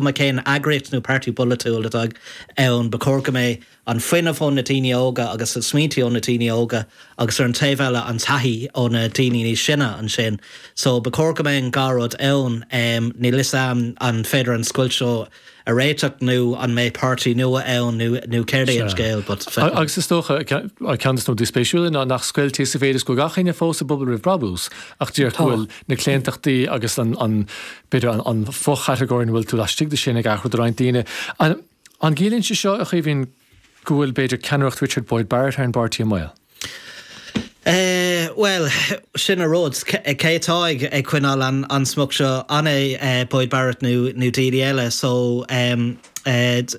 cén eagraíocht nó páirtí polaitiúil atá ann, ba chóir go mbeidh an fuinneamh ó na daoine óga agus na smaointe ó na daoine óga agus ar an taobh eile an taithí ó na daoine níos sine ansin. So ba chóir go mbeidh an dhá rud ann. Níl fhios a'm an féidir an scoilt seo a réiteach nó an mbeidh páirtí nua ann nó nó céard é an scéal but feicfimid. Agus is dócha, ceann de na rudaí spéisiúla ná nach scoilt é sa mhéid is go bhfuil gach éinne fós i bPobal Roimh Brabús ach díreach go bhfuil na claontachtaí agus an, an, b'fhéidir an fo-chatagóir ina bhfuil tú laistigh de sin ag athrú do roinnt daoine. An gciallaíonn sé seo, a Chaoimhín, go bhfuil, b'fhéidir, ceannaireacht Richard Boyd Barrett ar an bpáirtí i mbaol? Bhuel, sin an rud. Cé atá ag coinneáil an smacht seo? An é Boyd Barrett nó daoine eile? So, beidh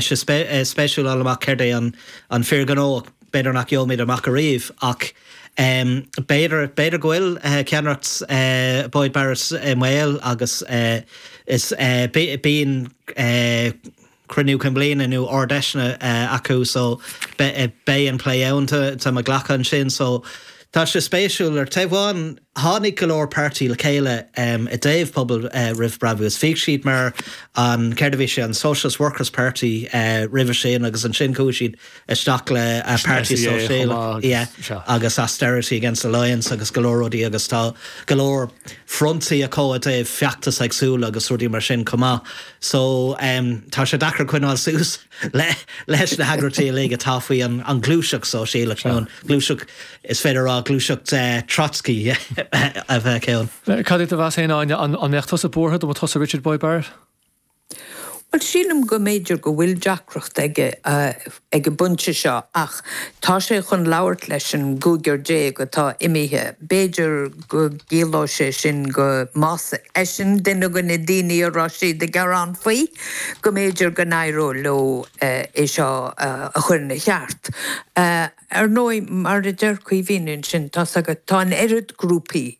sé spéisiúil fháil amach céard é an fíorghnó. B'fhéidir nach gheobhaimid amach ariamh ach b'fhéidir, b'fhéidir go bhfuil ceannaireacht Boyd Barrett i mbaol agus is bíonn cruinniú cinn bliana nó ard-fheiseanna acu so beidh an plé ann tá mé ag glacadh ansin so tá sé spéisiúil. Ar taobh amháin tháinig go leor páirtí le chéile i dtaobh Pobal Roimh Brabús. Bhíodh siad mar an, céard a bhí sé, an Socialist Workers Party roimhe sin agus ansin chuaigh siad isteach le Páirtí Sóisialach agus Austerity Against Alliance agus go leor rudaí agus tá go leor frontaí acu i dtaobh feachtais éagsúla agus rudaí mar sin chomh maith. So tá sé deacair coinneáil suas leis na heagraíochtaí uilig atá faoi an ghluaiseacht sóisialach nó an ghluaiseacht, is féidir a rá gluaiseacht Trotsky a bheadh ann. Cad é do mheas féin, Áine, an mbeadh tusa buartha dá mba tusa Richard Boyd Barrett? Bhuel, sílim go mb'fhéidir go bhfuil deacracht aige ag an bpointe seo ach tá sé chun labhairt leis an gcúigear atá imithe. B'fhéidir go gciallóidh sé sin go, más eisean duine de na daoine a raibh siad ag gearán faoi, go mb'fhéidir go n-éireodh leo é seo a chur ina cheart. Ar ndóigh, mar a deir Caoimhín ansin, tá's agat, tá an oiread grúpaí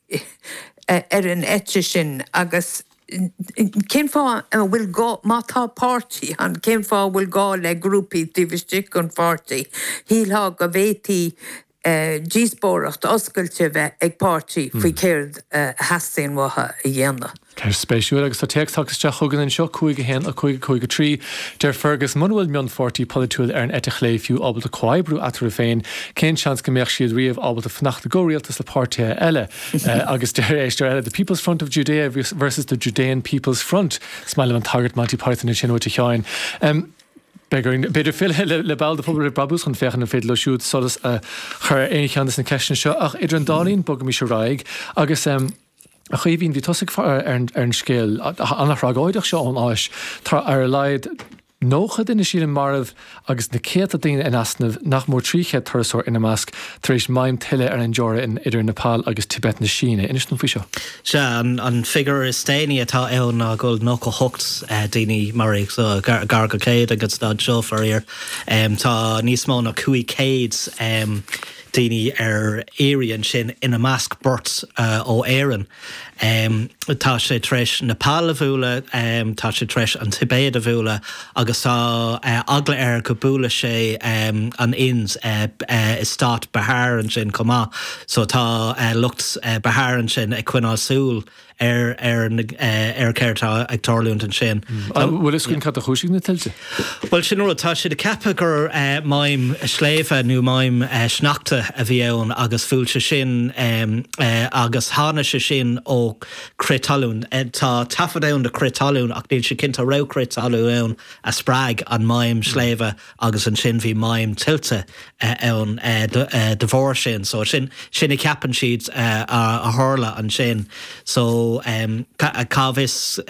ar an eite sin agus, Cén fáth a bhfuil gá, má tá páirtí ann, cén fáth a bhfuil gá le grúpaí taobh istigh den pháirtí? Shílfeá go bhféadfaí díospóireacht oscailte a bheith ag páirtí faoi céard a theastaíonn uathu a dhéanamh. Ceist spéisiúil agus tá téacs tagtha isteach chugainn anseo, 5 1 5 5 3. Deir Fergus, muna bhfuil mionpháirtí polaitiúil ar an eite chlé fiú ábalta comhoibriú eatarthu féin, cén seans go mbeadh siad riamh ábalta fanacht i gcomhrialtas le páirtithe eile? Agus deir éisteoir eile, The People's Front of Judea versus the Judean People's Front. Is maith liom an tagairt Monty Python ansin uait a Sheáin. Beidh orainn b'fhéidir filleadh le ball de Phobal Roimh Brabús chun féachaint an féidir leo siúd solas a chur ar aon cheann de na ceisteanna seo ach idir an dá linn bogaimis ar aghaidh agus a Chaoimhín, bhí tusa ag ar an scéal an-thragóideach seo ón Áis. Tá ar a laghad 90 duine sílim marbh agus na céadta daoine in easnamh, nach mór 300 turasóir ina measc, tar éis maidhm tuile ar an dteorainn idir Nepal agus Tibet na Síne. Inis dom faoi seo. Sea, an figiúr is déanaí atá ann ná go bhfuil 98 daoine maraithe, so gar go 100 ag an staid seo, faraor. Tá níos mó ná 500 daoine ar iarraidh ansin, ina measc beirt ó Éirinn. Tá sé tar éis Nepal a bhualadh, tá sé tar éis an Tibéid a bhualadh agus tá eagla air go buailfidh sé an Ind i stát Bihar ansin chomh maith. So tá lucht Bihar ansin ag coinneáil súil ar ar ar céard atá ag tarlúint ansin. An bhfuil fhios againn cad a chúisigh na tuilte? Bhuel, sin an rud, tá siad ag ceapadh gur maidhm sléibhe nó maidhm sneachta a bhí ann agus bhuail sé sin agus tháinig sé sin ó crith talún. Tá taifead ann de chrith talún ach níl sé cinnte an raibh crith talún ann a spreag an maidhm sléibhe agus ansin bhí maidhm tuilte ann de bharr sin. So sin sin a cheapann siad a tharla ansin. So cá bhfios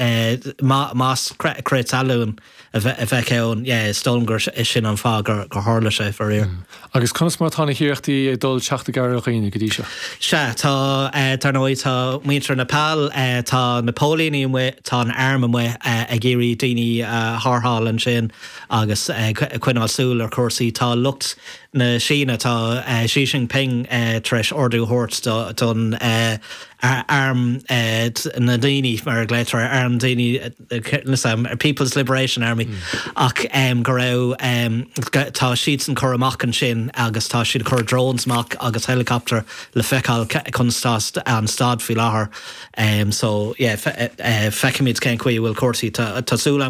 más crith talún a bheadh ann, yeah, is dóigh liom gur sin an fáth gur tharla sé, faraor. Agus conas mar atá na hiarrachtaí ag dul teacht i gcabhair ar dhaoine go dtí seo? Sea, tá, dar ndóigh, tá muintir Nepal, tá na póilíní amuigh, tá an arm amuigh ag iarraidh daoine a tharrtháil ansin agus ag coinneáil súil ar chúrsaí. Tá lucht. na Síne, tá Xi Jinping tar éis ordú a thabhairt don arm na ndaoine, mar a ghlaotar air, arm daoine, People's Liberation Army, ach go raibh, tá siadsan curtha amach ansin agus tá siad ag cur drones amach agus helicopter le feiceáil conas tá an staid faoi láthair. So yeah, feicfimid cén chaoi a bhfuil cúrsaí. Tá súil agam.